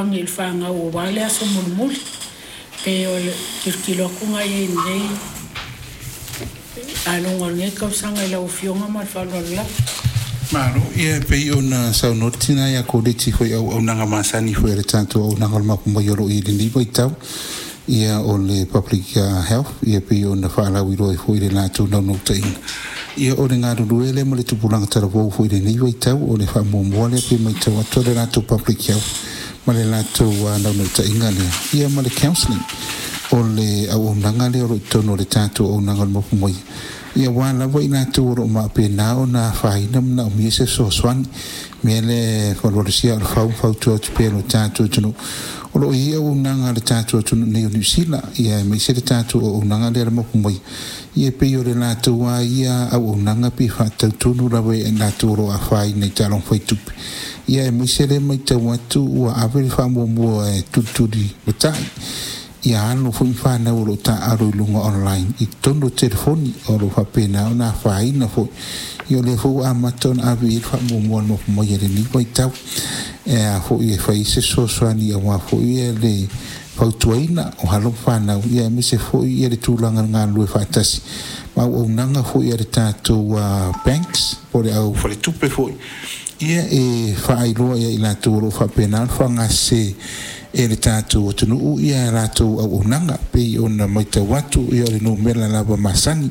I le fanau aua le aso mulimuli. Pe o le tilotilo atu i ai i lenei aloga o lenei tausaga i lau Afioga ma le faaaloalo lava. Malo, ia e pei ona saunoa le tina ia Koleti foi auaunaga masani foi a le tatou auaunaga o le Mapu mai o lo o i ai i lenei vaitau, ia o le public health, ia pei ona faalauiloa ai foi i le latou naunautaiga, ia o le galulue lea ma le tupulaga talavou foi i lenei vaitau. O le faamuamua lea pei matau atu o le latou public health ma le latou naunautaiga lea, ia ma le counselling. O le auaunaga lea o lo o i totonu o le tatou auaunaga o le Mapu mai, ia aua lava i latou o lo o faapena ona afaina ma manaomia se fesoasoani. Mea lea e falualusia o le fau ma fautua atu pea i lo tatou atunuu. O lo o i ai auaunaga a le tatou atunuu nei o Niu Sila, ia aemaise le tatou auaunaga lea a le Mapu mai, ia pei o le latou lava ia auaunaga pe faatatau tonu lava i latou o lo o afaina i taaloga fai tupe. Ia aemaise lea matau atu ua ave le faamuamua e tulituli matai ia alo foi ma fanau o lo o taaalo i luga online i totonu o telefoni o lo o faapena ona afaina foi. Ia o lea foi ua amata ona ave i ai le faamuamua a le Mapu mai i lenei vaitau e a foi e fai se fesoasoani aua foi le fautuaina o alo ma fanau, ia aemaise foi ia le tulaga o le galulue faatasi ma auaunaga foi a le tatou banks po o le au faletupe foi, ia e faailoa ia i latou o lo o faapena ona faaaogasese e le tatou atunuu ia latou auaunaga. Pei ona matau atu, ia o le numera lava masani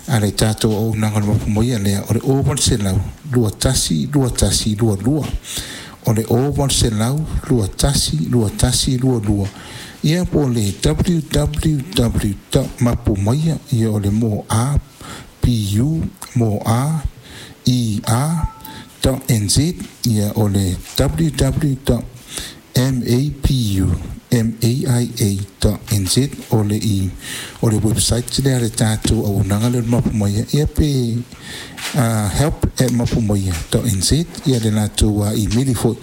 a le tatou auaunaga o le Mapu Maia lea o le 0800 21 21 22, o le 0800 21 21 22, ia po o le www.mapumaia, ia o le mo a p u mo a e a.nz, ia o le www.mapumaia.nz, o le i o le website lea a le tatou auaunaga lea o le Mapu Maia, ia pe help@mapumaia.nz ia le latou email foi,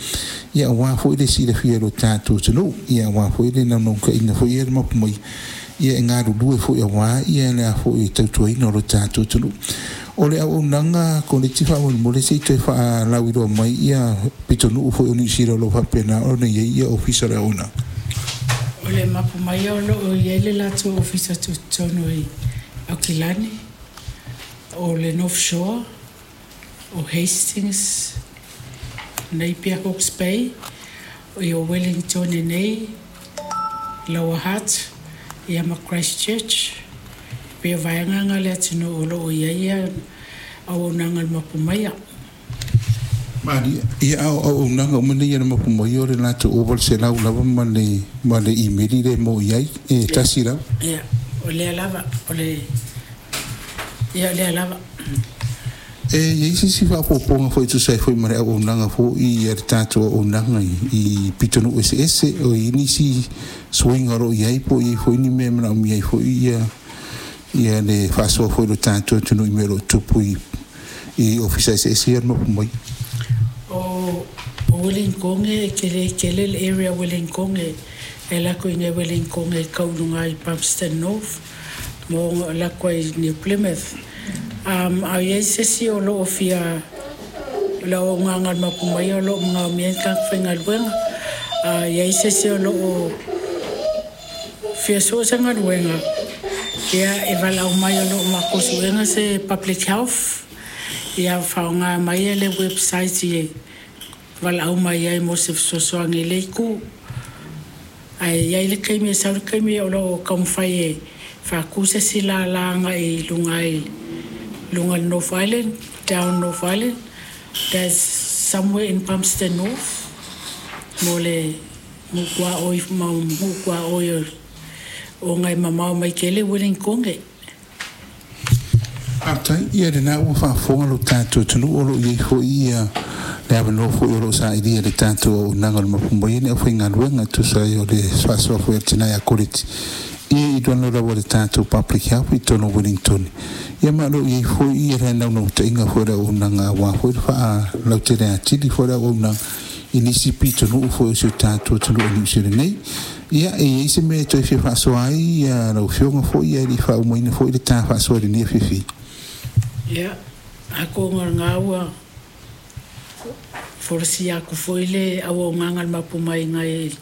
ia aua foi le silafia e lo tatou atunuu, ia aua foi le naunautaiga foi ia le Mapu Maia ia e galulue foi aua ia le a foi tautuaina o lo tatou atunuu. O le auaunaga Koleti, faamolemole se i toe faalauiloa mai ia pitonuu foi o Niu Sila o lo o faapena ona i ai ia ofisa o le auaunaga. O le Mapu Maia o lo o i ai le latou ofisa tutotonu i Aukilani, o le North Shore, o Hastings, Napier, Hawke's Bay, o Wellington i nei, Lower Hutt, ia ma Christchurch. Pei o vaega na o le atunuu o lo o i ai ia auaunaga a le Mapu Maia. Malie. Ia a o auaunaga uma nei a le Mapu Maia, o le latou 0800 lava ma le imeli le mo i ai e tasi lava. Ia, o lea lava, o le ia lea lava. E i ai se isi faaopoopoga foi e tusa ai foi ma le auaunaga foi a le tatou auaunaga i pitonuu eseese, o i ai nisi suiga o lo o i ai, po o i ai foi ni mea e manaomia ai foi ia le faasoa foi o le tatou atunuu i mea o lo o tupu i ofisa eseese ia o le Mapu mai? O Wellington e tele tele le area Wellington e alu atu i Wellington e tau i luga i Palmerston North mo alu atu ai New Plymouth. A i ai se isi o lo o fia le auaunaga a le Mapu Maia o lo o manaomia ni tagata faigaluega, a i ai se isi o lo o fia sue se galuega, ia e valaau mai. O lo o matou suega se public health, ia faaaoga mai le website e valaau mai ai mo se fesoasoani i le itu. Ae i ai le taimi e sau le taimi o lo o taumafai e faatu se isi lala agai i luga i luga le North Island, down North Island. There's somewhere in Palmerston North mo le nuu ma nuu tuaoi ona e mamao mai tele Wellington. Faafetai. Ia lena ua faafofoga lo tatou atunuu, o lo o i ai foi ia le avanoa foi o lo o sailia le tatou auaunaga o le Mapu Maia ni aufaigaluega e tusa ai o le faasoa foi a le tina ia Koleti ia i luga lava le tatou public health i totonu o Wellington. Ia ma o lo o i ai foi ia le naunautaiga foi o le auaunaga aua foi le faalautele atili foi o le auaunaga i nisi pitonuu foi o si o tatou atunuu o Niu Sila nei. Ia e i ai se mea e toe fia faasoa ai ia lau afioga foi ia e le i faaumaina foi le ta faasoa i lenei afiafi? Ia, atonu o lena ua Folasia aku foi le auaunaga a le mapu mai gai.